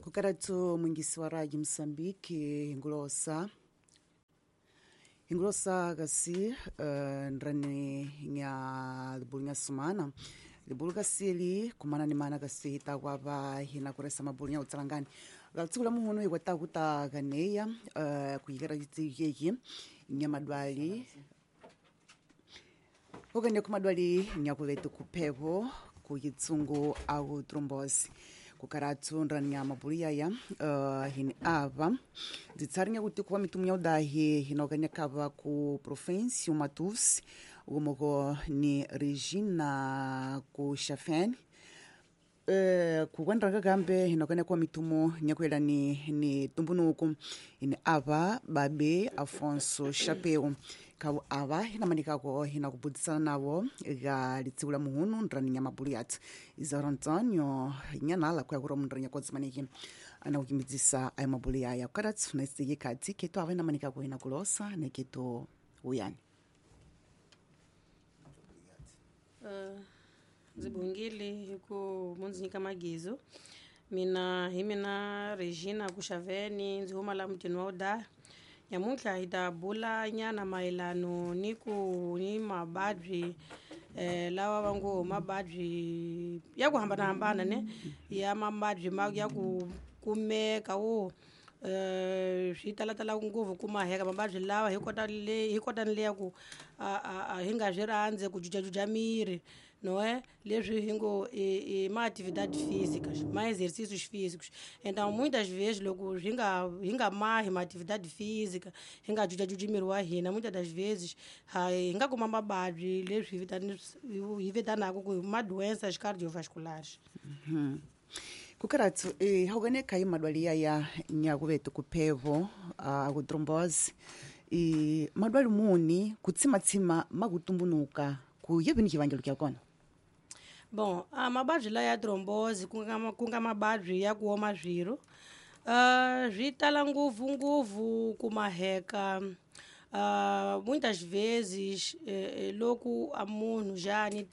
Kukaratu mwingisi wa raji Msambiki hingulosa hingulosa kasi ndrani nya libulu nya sumana libulu kasili kumana ni mana kasi takwava hina kuresa mabulu nya utsalangani katsiku la muhunu hikwata kuta kaneya kuyikera yeki nya madwali okanye kumadwali nyakuvetu kuphepo kuyitsungu aku trombosi kukaratsu ndrani mabulu yaya hini ava dzitsari nyakuti kuva mitumu ya udahi hinokanya kava ku province Matusi umoko ni Regina ku Xafene kukwendra kakambe hinokanya kuva mitumu nyakuela ni tumbunuku hini ava babe Afonso Chapeu kavo ava hinamanikako hinakubudzisana navo ga litsiku la muhunu ndrani nya mabulu yathu Isaura Antonio nyanala kuya kura mundrani nyakodzimaniki anakukimidzisa ayo mabulu yaya kukaratsu naisiki kati ketu ava hinamanikako hinakulosa neketu uyani. Ndzi bongile hi ku mo ndzi nyika magizo mina hi mina Regina Kuxaveni ndzi huma la mutini wa Udaha. Nyamuntlha hi ta bula nyana mayelano ni ku ni mavabyi lawa va ngo mavabyi ya ku hambanahambana ne ya mavabyi ma ya ku kumeka wo swi talatala ngopfu ku maheka mavabyi lawa hi kota le hi kota ni le ya ku a hi nga swi rhandzi ku jujajuja miri não é? Leswi hi ngo i ma atividade físicas, ma exercícios físicos. Então muitas vezes loko hi nga mahi ma atividade física, hi nga jujajuji miri wa hina, muitas das vezes hi nga kuma mavabyi leswi hi vitanaka ku ma doenças cardiovasculares. Kukaratsu haukane kai madwali yaya nyakuvetu kuphevo aku trombose madwali muni kutsimatsima makutumbunuka ku yevini xivangelo kya kona? Bom, a mavabyi laya ya trombose ku nga mavabyi ya ku oma swirho swi tala ngopfungopfu ku maheka muitas vezes loko a munhu ja a ni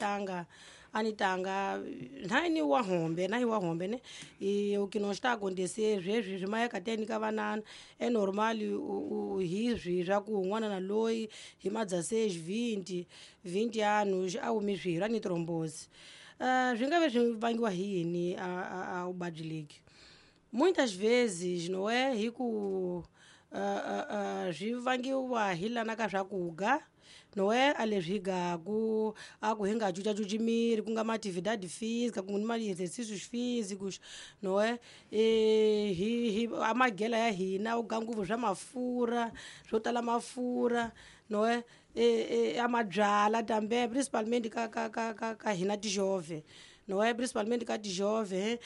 tanga nani wa hombe na hi wa hombe ne e o que não está a acontecer sweswi swi mayeka teni ka vanana é normal hi swi swa ku un'wana na loyi hi ma 16 20 20 anos a humi swirho a ni trombose swi nga ve swi vangiwa hi yini a vuvabyi lebyi muitas vezes não é hi ku swi vangiwa hi lana ka swakudya não é a leswi hi gaku a ku hi nga jujajuji miri ku nga ma atividade física ku ma exercícios físicos não é hi a magela ya hina u ga ngopfu swa mafurha swo tala mafurha não é a mabyala tambe principalmente ka hina tijove não é principalmente ka tijove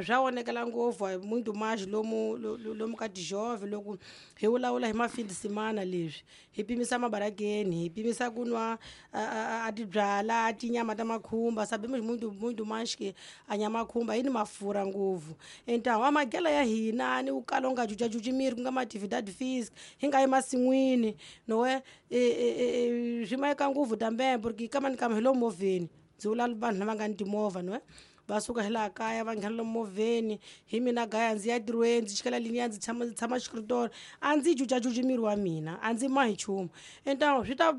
swa onekela ngopfu muito mais lomu ka tijove loko hi vulavula hi mafin de semana leswi hi pimisa mabarakeni hi pimisa ku nwa a tibyala a tinyama ta makhumba sabemos muito muito mais que a nyama khumba yi ni mafurha ngopfu então a magela ya hina ni u kala u nga jujajuji miri ku nga ma atividade física hi nga yi masin'wini não é swi mayeka ngopfu tambe porque kama ni kama hi lo movheni ndzi vula vanhu lava nga ni timovha no va suka hi laha kaya va nghena lomu movheni hi mina gaya ndzi ya ntirhweni ndzi chikela liniya ndzi tshama xikritola a ndzi jujajuji miri wa mina a ndzi mahi nchumu então swi ta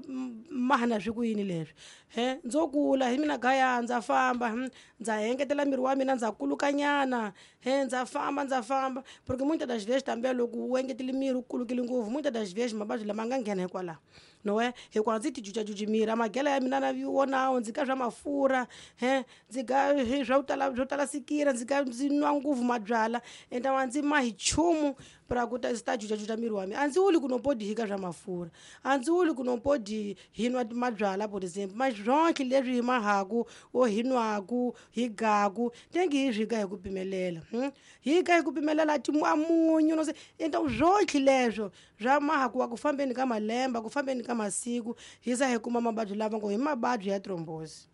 mahana swi ku yini leswi he ndzo kula hi mina gaya ndza famba ndza engetela miri wa mina ndza kulukanyana he ndza famba porque muitas das vezes também loko u engetele miri u kulukile ngopfu muitas das vezes mavabyi lama nga nghena hikwalaho não é hikuva ndzi ti jujajuji miri a magela ya mina na wonawo ndzi ka swa mafurha he ndzi ka swa swo tala sikira ndzi ka ndzi nwa ngopfu mabyala então a ndzi mahi nchumu pra ku ta ta jujajuja miri wa mina a ndzi wuli ku no podi hi ka swa mafurha a ndzi wuli ku no podi hi nwa mabyala por exemplo mas swonke leswi hi mahaku o hi nwaku hi gaku tengi hi swi ka hi ku pimelela hi ka hi ku pimelela a munyu no se então swonke leswo swa mahaku wa ku fambeni ka malembe ku fambeni ka masiku hi za hi kuma mavabyi lava ngo hi mavabyi ya trombose.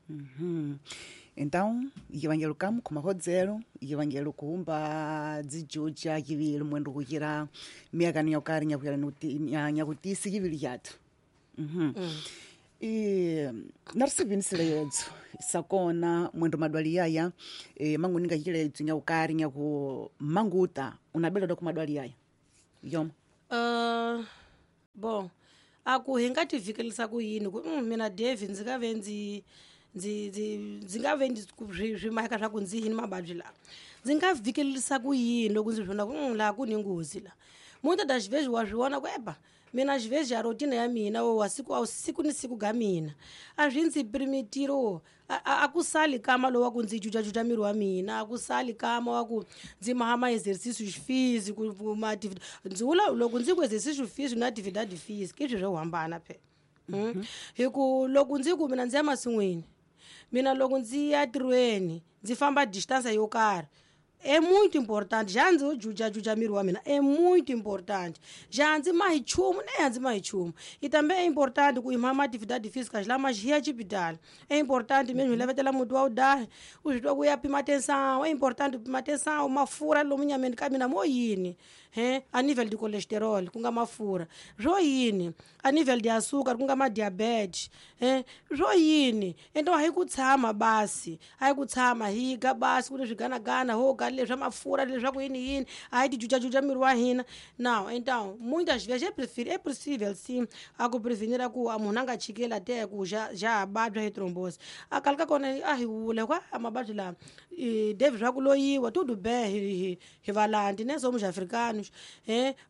Então yivangelo kamu khumahodzelo yivangelo kuhumba dzijuja yivili mwendo kuyira miyakani yokari nyakuyela nyakutisi yivili yathu. E narisivinisile yedzo sakona mwendo madwali yaya mangu ninga chiledzo nyaukari nyaku manguta unabeleda ku madwali yaya yoma. Bon aku hi nga tivikelisa ku yini ku mina David ndzi nga ve ndzi ndzi nga ve swi maheka swa ku ndzi yini mavabyi lawa ndzi nga vikelisa ku yini loko ndzi vona ku laha ku ni nghozi la muta da xiveji wa swi vona ku eba mina xiveji ya routine ya mina wa siku siku ni siku ga mina a swi ndzi permitiro a ku sali kama lowa ku ndzi jujajuja miri wa mina a ku sali kama wa ku ndzi maha exercícios físicos ndzi vula loko ndzi ku exercício físico na atividade física i swilo swo hambana phela. Hi ku loko ndzi ku mina ndzi ya masin'wini mina loko ndzi ya tirhweni ndzi famba distance yo karhi é muito importante já ndzi jujajuja miri wa mina é muito importante já ndzi mahi nchumu ne a ndzi mahi nchumu e também é importante ku ima atividade física lama xi ya xipitali é importante mesmo hi lavetela muti wa udahi u swi twa ku ya pima tensão é importante pima tensão mafurha lomu nyameni ka mina mo yini he a nível de cholesterol ku nga mafurha swo yini a nível de açúcar ku nga ma diabetes he swo yini então a hi ku tshama basi a hi ku tshama hi ga basi ku ni swiganagana ho ga leswa mafurha leswaku yini yini a hi tijujajuja miri wa hina não então muitas vezes é possível sim a ku prevenir ku a munhu a nga chikeli a te ku já vabya hi thrombose a kala ka kona a hi wula kwa a mavabyi lama David swa ku loyiwa tudo bem hi valandi ne somos africanos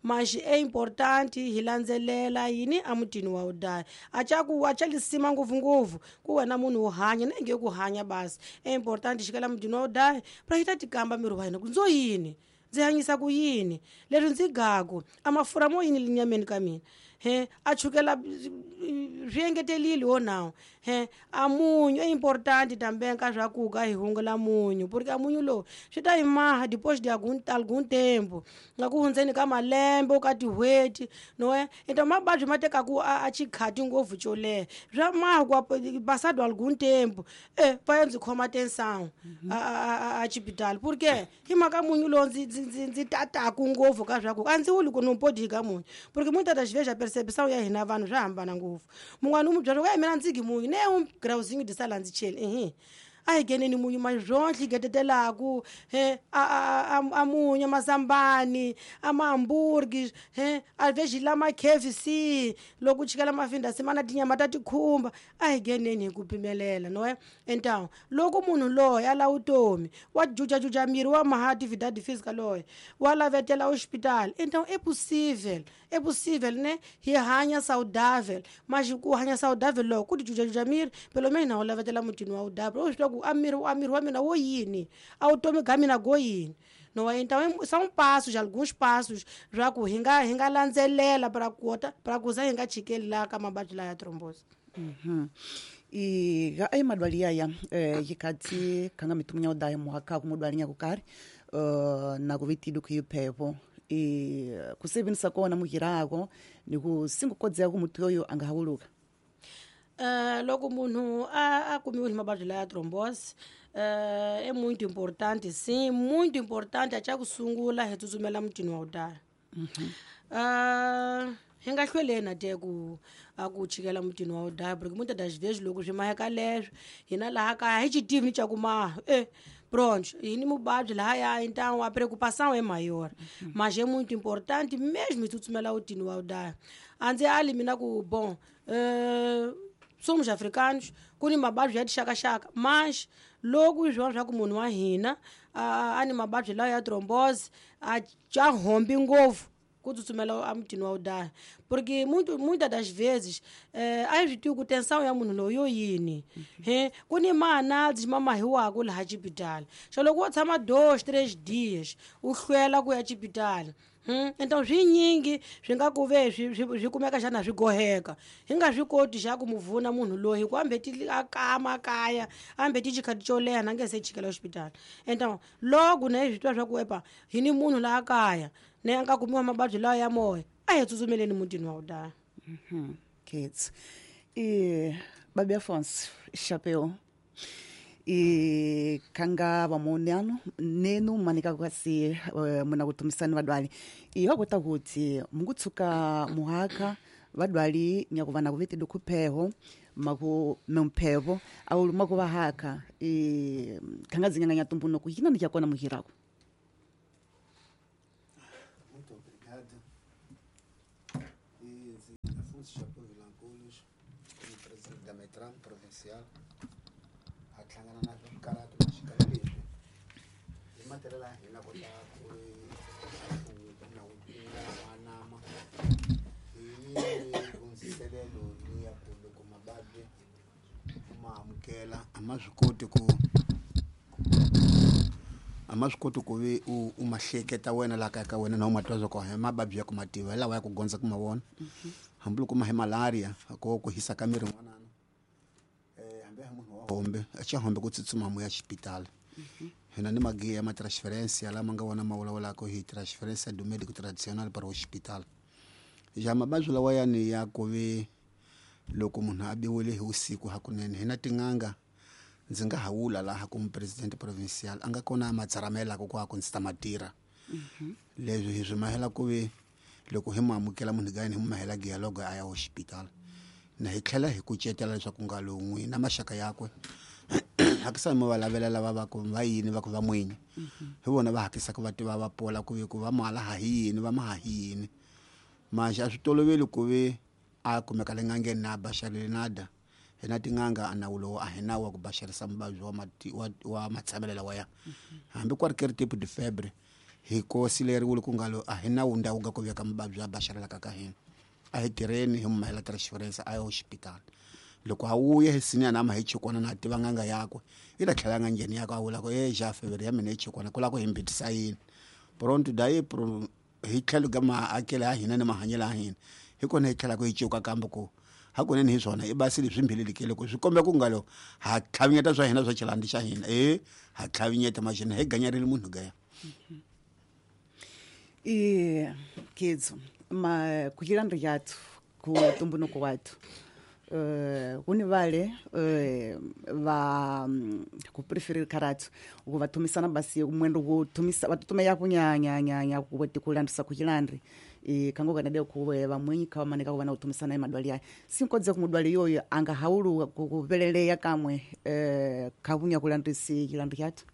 mas é importante hi landzelela yini emutini wa udaya a ca ku a ca lisima ngopfungopfu ku wena munhu wo hanya ne nge ku hanya basi é importante xikela mutini wa udaya pra hi ta tikamba miri wa hina ku ndzo yini ndzi hanyisa ku yini leswi ndzi gaku a mafurha mo yini linyameni ka mina he a chukela swi engetelile wo nawu he a munyu é importante também ka swa ku ka hi hungula munyu porque a munyu lowu swi ta hi maha depois de algum tempo nga ku hundzeni ka malembe ka tin'hweti no então mavabyi ma tekaku a xikhati ngopfu xo leha swa maha ku passado algum tempo va ya ndzi khoma tensão a xipitali porque hi mhaka munyu lowu ndzi tataku ngopfu ka swa ku a ndzi wuli ku no podi ka munyu porque muitas das vezes a percepção ya hina vanhu swa hambana ngopfu mun'wana u mu byela ku mina ndzi gi munyu ne um grauzinho de sala ndzi cheli a hi ngheneni munyu mazwonhle hi getetelaku he a munyu mazambani a mahamburgi he a veji lama KFC loko u chikela mafindasi mana tinyama ta tikhumba a hi ngheneni hi ku pimelela no então loko munhu loyi a lava vutomi wa jujajuja miri wa maha atividade física loyi wa lavetela hospital então é possível né hi hanya saudável mas ku hanya saudável loko ku tijujajuja miri pelo menos na u lavetela mutini wa udabra u swi tiva ku a miri wa mina wo yini a vutomi bya mina go yini no então são passos alguns passos swa ku hi nga landzelela para kota para ku za hi nga chikeli la ka mavabyi la ya thrombose. I ga ai madwali yaya yikati kanga mitumunya udaya muhaka kumudwali nyakukari na kuvitidu kuyipepo i kusebenzisa kona muhirako ni kusingukodzea ku muthu yoyo angahawuluka. Loko munhu a kumiwe hi mavabyi la ya thrombose é muito importante sim muito importante a xa ku sungula hi tsutsumela mutini wa udaya. Hi nga hlweleni te ku a ku chikela mutini wa udaya porque muitas das vezes loko swi maheka leswo hina laha kaya hi xi tivi ni xa ku maha pronto hi ni muvabyi lahaya então a preocupação é maior mas é muito importante mesmo hi tsutsumela mutini wa udaya a ndzi ali mina ku bom somos africanos ku ni mavabyi ya tixakaxaka mas loko swi vona swa ku munhu wa hina a ni mavabyi lawa ya thrombose a ca hombi ngopfu ku tsutsumela emutini wa udaya porque muitas das vezes a hi swi tivi ku tensão ya munhu loyi yo yini he ku ni ma-análise ma mahiwaku laha xipitali xo loko wo tshama 2 3 dias u hlwela ku ya xipitali então swinyingi swi nga ku ve swi kumeka xana swi goheka hi nga swi koti xa ku mu vuna munhu loyi hi ku ambeti a kama kaya ambeti xikhati xo leha na nge se chikela xipitali então loko na hi swi twa swa ku epa hi ni munhu laha kaya ne a nga kumiwa mavabyi lawa ya moya a hi tsutsumeleni mutini wa udaya. Kids i babi Afonso Chapéu i kanga vamuneano nenu manika kwasi muna kutumisani vadwali i wakota kuti mungutsuka muhaka Vadwali nyakuva na kuvete dukhupeho maku memphevo awu maku haka e khanga dzinyanga nya tumbunuku yina ni yakona muhirako. Muito obrigado. E Afonso Chapéu Vilanculos, como presidente da Metran provincial, a hlangana na swikarhato maxikalo leswi hi matirhela hina kota ku na nama hi hundziselelo liya ku loko mavabyi ma amukela a ma swi koti ku a ma swi koti ku vi u ma hleketa wena laha kaya ka wena na u ma twa swa ku hi mavabyi ya ku ma tiva hi lawa ya ku gondza ku ma vona hambiloko ma hi malaria ko ku hisa ka miri n'wanana hambi hi munhu wa hombe a xa hombe ku tsutsuma mu ya xipitali hina ni magiya ma transferência lama nga wona ma vulavulaka hi transferência do médico tradicional para o hospital. Ja mavabyi lawa yani ya ku vi loko munhu a biwile hi vusiku hakunene hina tin'anga ndzi nga ha wula laha ku mupresidente provincial a nga kona a ma tsaramelaka ku a ku ndzi ta ma tirha. Leswi hi swi mahela ku vi loko hi mu amukela munhu gayini hi mu mahela dialogue a ya hospital na hi tlhela hi kucetela leswaku nga lowu n'wi na maxaka yakwe hakisa mi va lavela lava va ku va yini va ku va n'winyi hi vona va hakisaka va tiva va pola ku vi ku va mala ha hi yini va ma ha hi yini manje a swi toloveli ku vi a kumeka le n'angeni na baxarile nada hina tin'anga a nawu lowu a hi nawu wa ku baxarisa muvabyi wa matshamelo lawa ya hambi ku ri ke ri tipo de febre hi kosileriwile ku nga lo a hi nawu ndhawu ga ku veka muvabyi a baxarelaka ka hina a hi tirheni hi mu mahela transference a ya hospital loko a wuye hi sinya na ma hi chikwana na tiva n'anga yakwe i ta tlhela nga ngheni yakwe a vula ku e ja febre ya mina yi chikwana ku lava ku hi mbitisa yini pronto dayi hi tlhelo ka maakelo ya hina ni mahanyelo ya hina hi kona hi tlhelaka hi cuka kambe ku hakunene hi swona i basile swi mbilelekile ku swi komba ku nga lo ha tlhavinyeta swa hina swa xilandi xa hina e ha tlhavinyeta maxina hi ganyarile munhu gaya. I kids ma kuhilandri yathu ku tumbunuko wathu kuni vale va ku preferir karatu ku va thumisana basi mwendo ku thumisa va tutume ya kunya nya nya ku tikulandisa kuhilandri e kango kana de ku va mwenyi ka maneka ku va na ku thumisana e madwali ya sinkodze ku mudwali yoyo anga haulu ku veleleya kamwe khavunya kulandisi hilandri yathu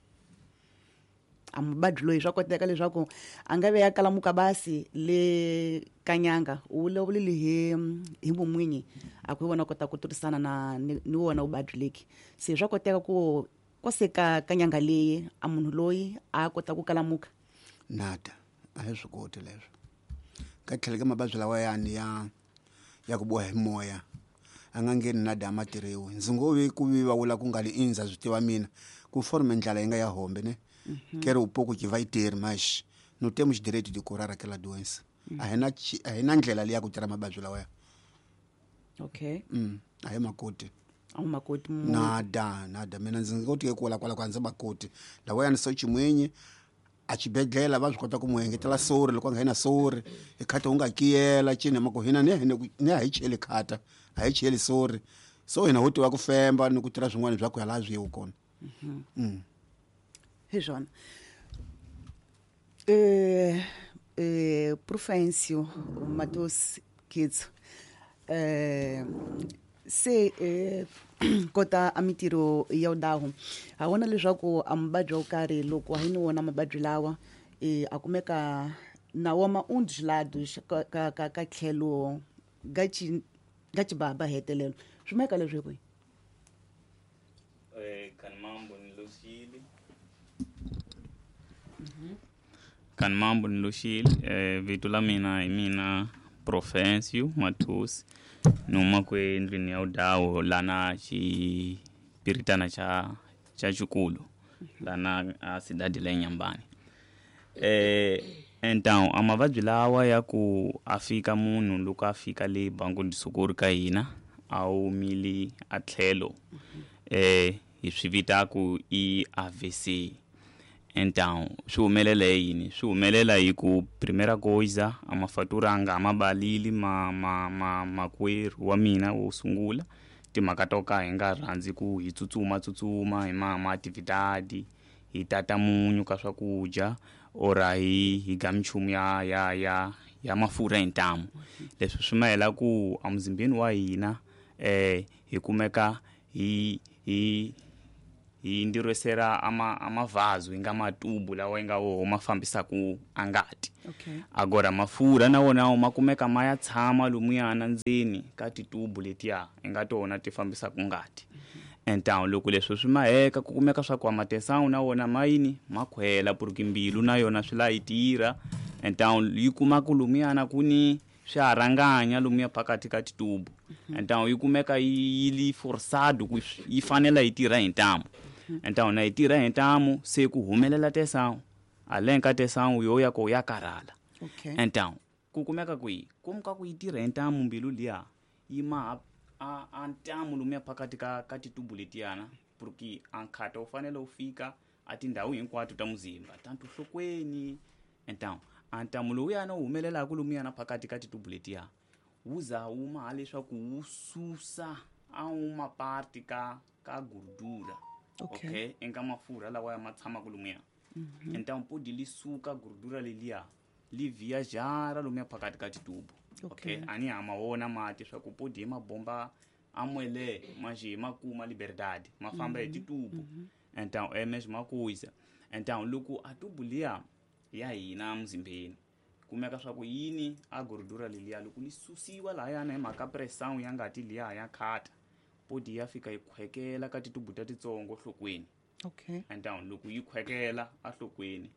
amubadyi loyi swa koteka leswaku a nga ve ya kalamuka basi le kanyanga u vulavulile hi vumwinyi a ku hi vona kota ku turisana na ni wona vuvabyi leki se swa koteka ku koseka kanyanga leyi a munhu loyi a kota ku kalamuka nada a hi swi koti leswo ka tlhelo ka mavabyi lawa yani ya ku boha hi moya a nga ngheni nada a ma tirhiwi ndzi ngo vi ku vi va vula ku nga li indza swi tiva mina ku forme ndlala yi nga ya hombe ne quero um pouco que vai ter, mas não temos direito de curar aquela doença. A hina ndlela leyi ya ku tirha mavabyi lawa. Okay. A hi makoti. A wu makoti. Nada, nada. Mina ndzi nga koti ku kwala kwala ndzi makoti. Lawa yani so chimwenye a xibedhlele va swi kota ku n'wi engetela sori loko a nga yina sori hi khata u nga kiyela cini mako hina ni a hi cheli khata a hi cheli sori so hina ho tiva ku femba ni ku tirha swin'wana bya ku ya laha swi yiwu kona. Hi swona. Profencio Matos Kids se kota a mitirho ya udahu ha vona leswaku a muvabyi wo karhi loko hi ni wona mavabyi lawa a kumeka na wa ma undulado ka tlhelo ga chibaba hetelelo swi meka leswi hi kwihi? Kan mambo ni loxile vito la mina hi mina Profencio Matos ni huma ku endlwini ya udawo lana xipiritana xa xikulu lana a cidade la Inhambane. Então a mavabyi lawa ya ku a fika munhu loko a fika le Banco de Socorro ka hina a humile a tlhelo hi swi vitaku i AVC. Então swi humelela yini? Swi humelela hi ku primeira coisa a mafatura nga ma balili ma makwerhu wa mina wo sungula timhaka to ka hi nga rhandzi ku hi tsutsuma tsutsuma hi ma atividade hi tata munyu ka swakudya ora hi ga minchumu ya ya mafurha hi ntamu. Leswi swi mahela ku emuzimbeni wa hina hi kumeka hi hi hi ndirwesera amavazu inga matubu lawa inga wo ma fambisaku angati. Okay. Agora mafurha na wona ma kumeka ma ya tshama lumuyana ndzeni ka titubu letiya inga tona ti fambisaku ngati. Então loko leswi swi maheka ku kumeka swa ku amatesão na wona mayini ma khwela porque mbilu na yona swi la yi tirha. Então yi kuma ku lumuyana ku ni swiharanganya lomuya phakathi ka titubu. Então yi kumeka yi li forçado ku yi fanela yi tirha hi ntamu. Então na yi tirha hi ntamu se ku humelela tesão além ka tesão yo ya ko ya karhala. Okay. Então ku kumeka kwihi komu ka ku yi tirha hi ntamu mbilu liya yi ma a ntamu lomuya phakathi ka titubu letiyana porque a nkhata wu fanele wu fika a tindhawu hinkwato ta muzimba tanto nhlokweni. Então a ntamu lowuyana wu humelelaka lomuyana phakathi ka titubu letiya wu za wu maha leswaku wu susa a wu maparte ka gordura. Okay. Okay, eka mafurha lawa ya ma tshamaka lomuya. Então podi li suka gordura leliya li viajara lomuya phakathi ka titubu. Okay. Okay, ani ha ma wona mati swa ku podi hi mabomba amwele manje ma kuma liberdade ma famba hi titubu. Então é mesma coisa. Então loko a tubu liya ya hina muzimbeni kumeka swa ku yini a gordura leliya loko li susiwa lahayana hi mhaka pressão ya ngati liya ya khata podi ya fika yi khwekela ka titubu ta titsongo nhlokweni. Okay. Então loko yi khwekela ahlokweni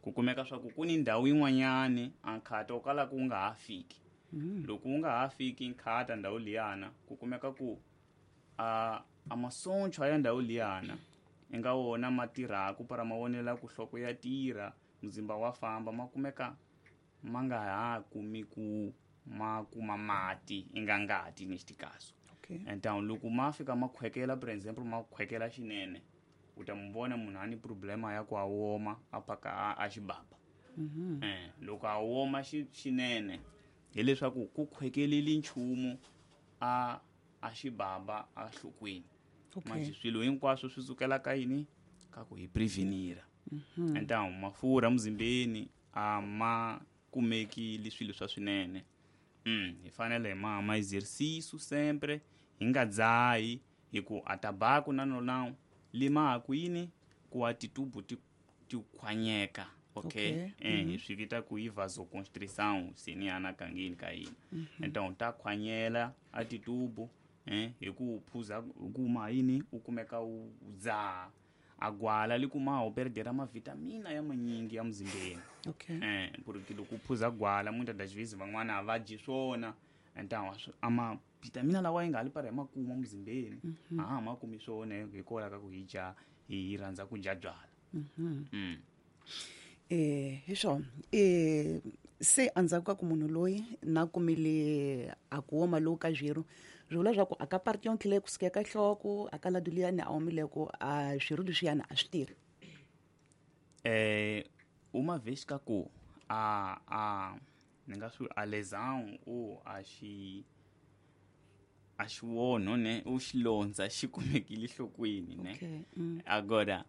ku kumeka swa ku ku ni ndhawu yin'wanyani a nkhata wu kalaka wu nga ha fiki. Loko wu nga ha fiki nkhata ndhawu liyana ku kumeka ku a masochwa ya ndhawu liyana inga wona ma tirhaku para ma vonela ku nhloko ya tirha muzimba wa famba ma kumeka ma nga ha kumi ku ma kuma mati inga ngati neste caso. Okay. Então loko ma fika ma khwekela por exemplo ma khwekela xinene u ta mu vona munhu a ni problema ya ku a woma a phaka a xibaba. Loko a woma xinene hileswaku ku khwekeleli nchumu a xibaba a nhlokweni. Okay. Manje swilo hinkwaswo swi sukela ka yini ka ku hi prevenira. Então mafurha muzimbeni a ma kumeki swilo swa swinene. Hi fanele hi ma exercício sempre hi nga dzahi hi ku a tabaco na nona lima ku yini ku a titubu ti khwanyeka. Okay. Okay. Hi swi vita ku i vasoconstrição seniana kangeni ka hina. Então ta khwanyela a titubu hi ku phuza hi ku ma yini u kumeka u dzaha a gwala li kuma u perdera mavitamina ya manyingi ya muzimbeni. Okay. Porque loko u phuza gwala muitas das vezes van'wana a va dyi swona. Então a mavitamina lawa yi nga li para hi ma kuma muzimbeni a ha ma kumi swona hikwalaho ka ku hi dya hi rhandza ku dya byala. Hi swona se endzhaku ka ku munhu loyi na kumile a ku woma lowu ka zwiru swi vula swa ku a ka parti yonke leyi kusuka eka nhloko a ka ladu liyani a omileko a swiru leswiyani a swi tirhi. Uma vez ka ku a ni nga swi a lesão ou a xi a xiwonho ne u xilondza xi kumekile nhlokweni ne. Okay. Agora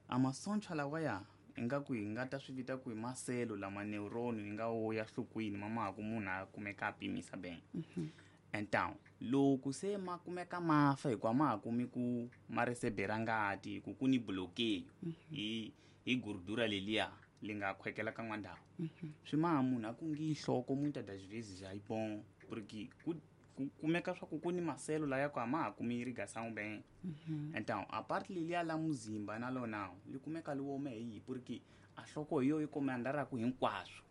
a masochwa lawaya ingaku hi nga ta swi vita ku hi maselo lama neuron yi nga wo ya nhlokweni ma ma ku munhu a kumeka a pimisa bem. Então loko se ma kumeka ma fa hikuva ma ha kumi ku ma recebera ngati ku ku ni bloqueio hi gordura leliya li nga khwekela ka n'wandhawu. Swi maha munhu a ku ngi nhloko muitas das vezes já é bom porque ku kumeka swa ku ku ni maselo laya ku a ma ha kumi irrigação bem. Então a parte leliya la muzimba na lona li kumeka li wome hi porque a nhloko hi yo yi komandaraku hinkwaswo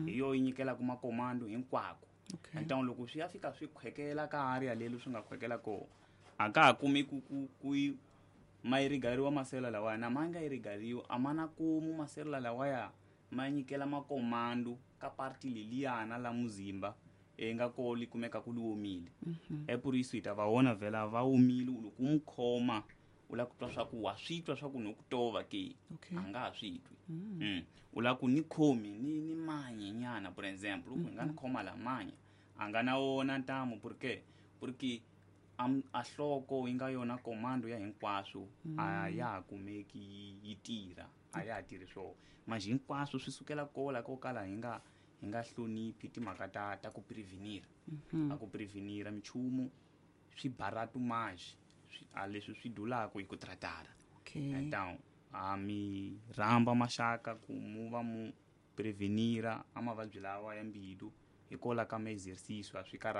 hi yo yi nyikelaka makomando hinkwako. Okay. Então loko swi ya fika swi khwekela ka area leli swi nga khwekela kona a ka ha kumi ku ma irrigariwa maselo lawaya na ma nga irrigariwi a ma na kumu maselo lawaya ma nyikela makomando ka parti leliyana la muzimba nga ko li kumeka ku li omile. É por isso hi ta va vona vhela va omile loko u mu khoma u lava ku twa swa ku wa swi twa swa ku no ku tova ke. Okay. A nga ha swi twi. U lava ku ni khomi ni manye nyana por exemple loko hi nga ni khoma la manya a nga na wona ntamu porque a nhloko yi nga yona komando ya hinkwaswo a ya ha kumeki yi tirha a ya ha tirhi swona manje hinkwaswo swi sukela kola ko kala hi nga Hi nga hloniphi timhaka ta ku prevenir. A ku prevenira minchumu swi barato mais a leswi swi dulaka hi ku tratara. Então a mi rhamba maxaka ku mu va mu prevenira a mavabyi lawa ya mbilu hikola ka ma-exercicio a swi karhati.